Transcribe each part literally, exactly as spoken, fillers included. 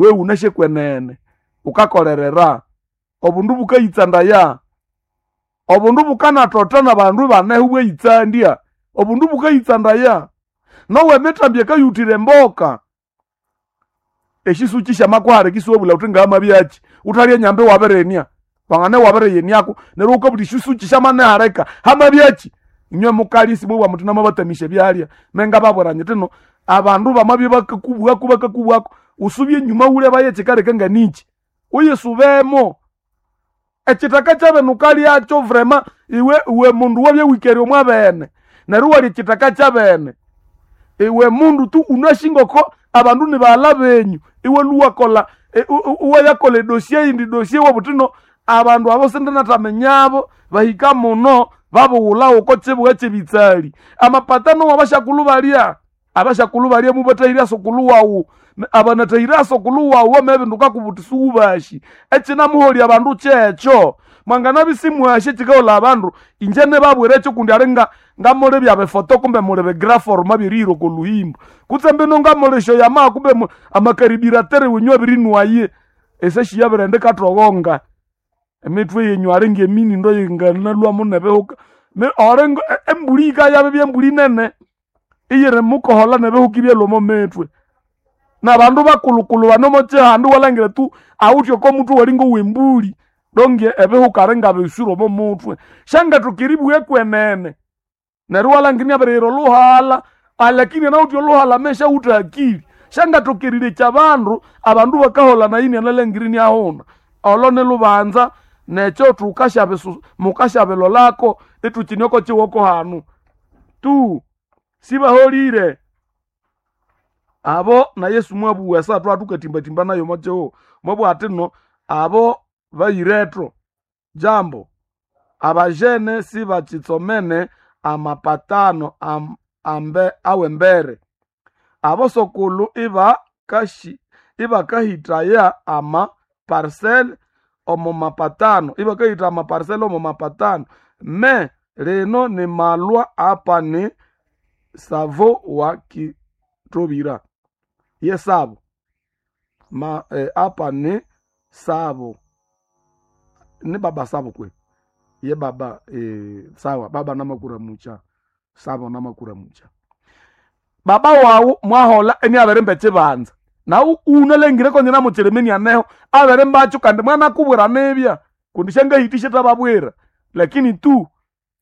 We unashe kwenene ukakolerera obundu bukayitsandaya obundu bukanatota nabandu baneho bweyitsandya obundu bukayitsandaya nowe emitambi ekayutire emboka eshisuki syamakuhara kisiwabula uthi ngamabyaki uthalya enyambi wabirenia wangane wabiriyeniako neryo ukabuthi shisuki syamanehareka hamabyaki inywe mukalya simubwa muthi namabatamisya ebyalya mengababwira nyiti no abandu bamabya bakakubwako bakakubwako usubye enyuma wulebayo ekikaleka nganiki uyisubemo ekithaka kyabene ukalyakyo vrema iwe iwe mundu wabya wikere omwabene neryo iwalya ekithaka kyabene iwe mundu tu unashingoko abandu ni baghala benyu iwe luwakola iwayakola edosie yindi dosie wabuthi no abandu abo sindinathaminyabo bahika muno babughulha oko kibuga kyebitsali amapatano wabashakulhu balya abashakulhu balya mubathahirya sokulu wawu abanathahirya sokulu wawu wamabinduka kubuthi siwubashi ekinamuholya abandu kyekyo mwanganabya simwashi ekikaholha abandu inje nibabwira ekyo kundi ali nga ngamuli byabifoto kumbe muli bigraforma byerihira oko luhimbo kutse mbino ngamuli esyoyamaha kumbe mu- amakaribiratere wenyu abirinwaye esyasyabirindi kathoghonga emitwe yenyu ali ngeminindo yinganalwamu nebihuka Mi- ori ngo- e- embuli yikayabya byembuli nene iyiri mukohola nebihuka ibyalhwa omo mitwe nabandu bakulhukulhu bano omo kihanda iwalhangira tu awithe oko mutwe wali ngowembuli donge ebihuka ali ngabiswire omo mutwe syangathoka eribugha kwenene neryo iwalhangira inabiriyira olhuhalha alakini anawithe olhuhalha ameshawithe akili syangathoka erirekya abandu abandu bakaholha nayo inyanalhangira iniahuna olo nilubanza nekyo thukasyabisu mukasyabilolako ithukine oko kiwoko hanu tu sibaholire abo na Yesu mwabugha esa thwathukatimbatimba nayo omo kihugho mwabugha athi no abo bayiretho jambo abajene sibakitsomene amapatano am, ambe awembere abosokulhu ibakashi ibakahitaya ama parcel omo mapatano ibakahita ama parcel omo mapatano me lino ni malwa apa ni savo wa kitobira ye sabo ma eh, apa ni sabo ni baba sabo kwe ye baba eh, sawa baba namakura mucha sabo namakura mucha baba wawu mwahola eniabirimba ekibanza nawu unalengire konye namukirimini aneho abirimbacho kandi mwanakubwira nibya kundi syangahitisye thababwira lakini tu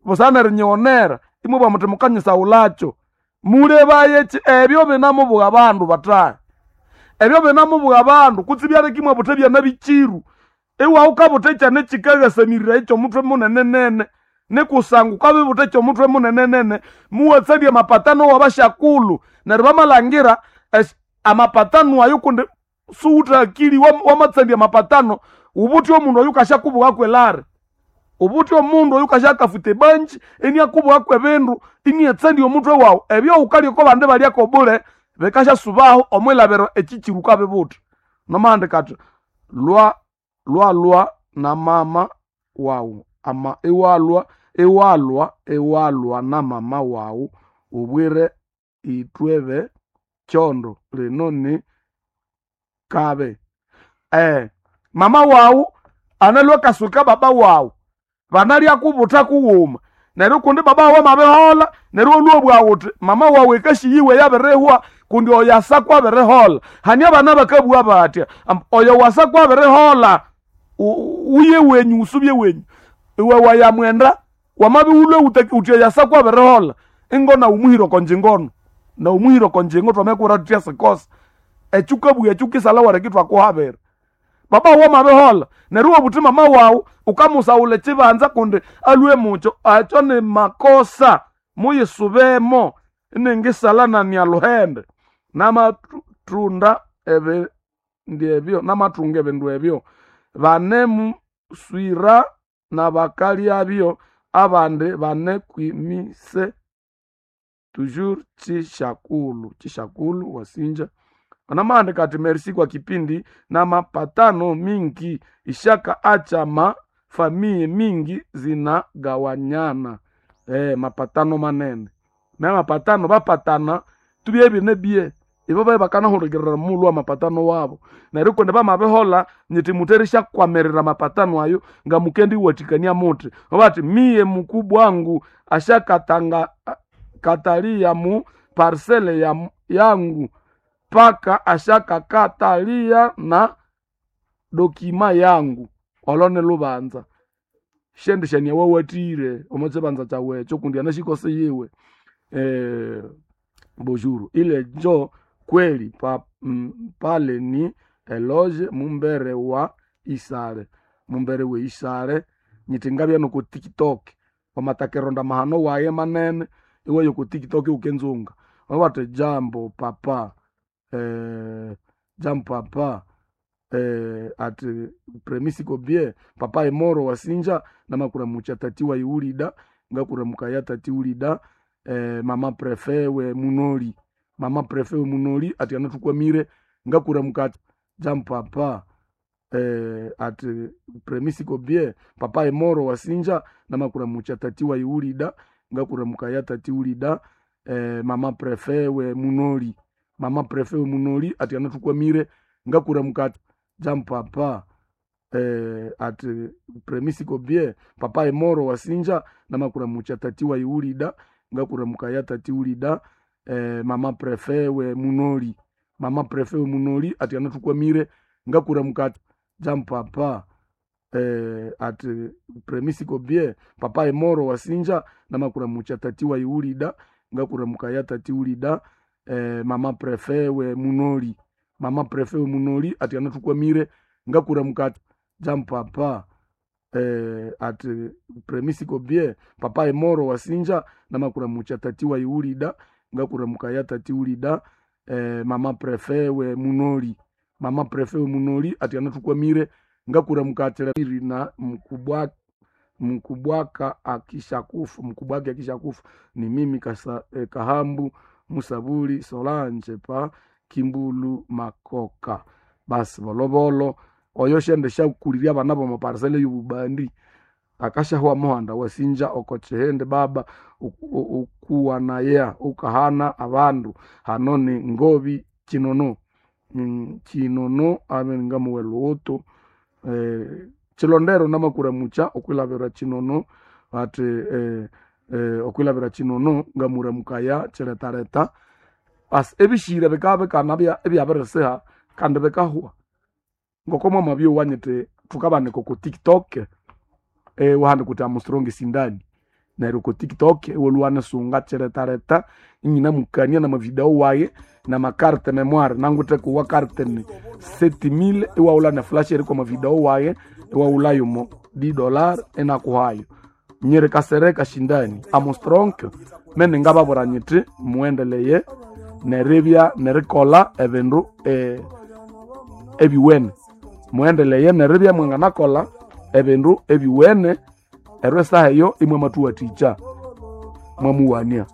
busana erinyighonera imwabugha muthi mukanyisawulakyo mulebaye ki ebyo binamubugha abandu bathahi ebyo binamubugha abandu kutse ibyaleka imwabutha ebyana bikiru iwawukabutha ekyana ekikaghasamirira ekyomutwe munene nene nikusangwa ukabibutha ekyomutwe munene nene muwatsalya amapatano wabashakulhu neryo bamalhangira esi- amapatano ayo kundi suwuthe akili wam- wamatsandya amapatano ubuthi omundu oyu kasyakubughako elari ubuthi omundu oyu kasyakafuta ebanji iniakubughaku ebindu iniatsandya omutwe wawu ebyo wukalya oko bandi balyako bule bikasyasubaho omwilabiro ekikiru ukabibutha nomahandika athi lwa lwalwa na mama wawu ama iwalwa iwalwa iwalwa na mama wawu ubwire itwebe kyondo lino ni kabe eh mama wawu analwa kasuka baba wawu banalya kubutha kughuma neryo kundi baba wawu amabihola neryo olhwa bwawu uthi mama wawu ekashiyiwe yabirihwa kundi oyo asakwa abirihola hani abana bakabugha batya Am- oyo wasakwa abirihola u- uye wenyu usubye wenyu iwe wayamwenda wamabiwulwe uthi oyasakwa abirihola ingo naumuhira okonjingono naumuhira okonjingo twamekura thutya sikosa ekyo ukabugha ekyo ukisala wereki twakuhabira baba wawu amabihola neryo iwabuthi mama wawu ukamusawula ekibanza kundi alwe mukyo akyo ni makosa muyisubemo iningisala nani aluhende namathunda ebindu ebyo namathunga ebindu ebyo banemuswira nabakalyabyo abandi banekwimise toujours chishakulu chishakulu wasinja anamaandika ati merci kwa kipindi na mapatano mingi ishaka acha ma famie mingi zinagawanyana eh, mapatano manene na mapatano bapatana tubye bine bie Ibo baye bakanahurikirira mulu amapatano wabo. Neryo kundi bamabihola nyiti muteresha kwamerera mapatano ayo nga mukendi watikania muti. Bati miye mukubwa wangu ashakatanga katalia mu parcele ya, yangu paka ashakakatalia na dokima yangu olone lubanza shendishania wawatire omochibanza chawecho kundi anashikose yiwe eh, bonjour ile njo kweli pa, m, pale ni eloge mumbere wa isale mumbere we isale nyitingabya noko TikTok wamatakeronda mahano waye manene iwe yoko TikTok ukenzunga wabate jambo papa eh, jambo papa eh, ati premisiko bie papa emoro wasinja namakuramucha tati wa iulida ngakuramukaya tati ulida eh, mama prefe we munoli mama prefe we munoli ati anatukwamire ngakuramuka jambo papa eh, ati premisiko bie papa emoro wasinja namakuramucha tati wa iulida ngakuramukaya tati ulida eh, mama prefe we munoli mama prefe we munoli ati anatukwamire ngakuramuka jambo papa eh, ati premisiko bie papa emoro wasinja namakuramucha tati wa iulida ngakuramukaya tati ulida eh, mama prefe we munoli mama prefe we munoli ati anatukwamire ngakuramuka jambo papa eh, ati premisiko bie papa emoro wasinja namakuramucha tati wa iulida ngakuramukaya tati ulida eh, mama prefe we munoli mama prefe we munoli ati anatukwamire ngakuramuka jambo papa eh, ati premisiko bie papa emoro wasinja namakuramucha tati wa iulida ngakuramukaya tati ulida eh, mama prefe we munoli mama prefe we munoli ati anatukwamire ngakuramukatira na mkubwa mkubwaka akishakufa mkubwake akishakufa ni mimi kasa, eh, kahambu musabuli solange pa kimbulu makoka basi bolovolo oyo shende shakuliria abana bomaparsele yububandi akashahwa muhanda wasinja okochihende baba ukuwa naya ukahana abandu hano ni ngobi chinono mm, chinono abe ngamuwe luutu eh, chilondero namakuramucha okwilabira chinono ati eh, eh, okwilabira chinono ngamuramukaya chiletaleta basi ebishira bikaba bikana ebyabirisiha kandi bikahwa ngoko mwamabyo wanyite thukabanika ku TikTok eh, wahandi kuti amustrong sindani neryo ku TikTok iwolwana sunga chiletaleta inyina mukania na mavideo waye na makarte memoire nangute kuwa carte ni sept mille iwaula na flash eri kwa mavideo waye iwaula yumo di dollar enakuhayo nyeri kasereka shindani amustrong mene ngababura nyiti muendeleye neribya nerikola ebindu eh, ebiwene muendeleye neribya mwanganakola ebindu ebiwene eryo esaha eyo imwe matuwathikya mwamuwania.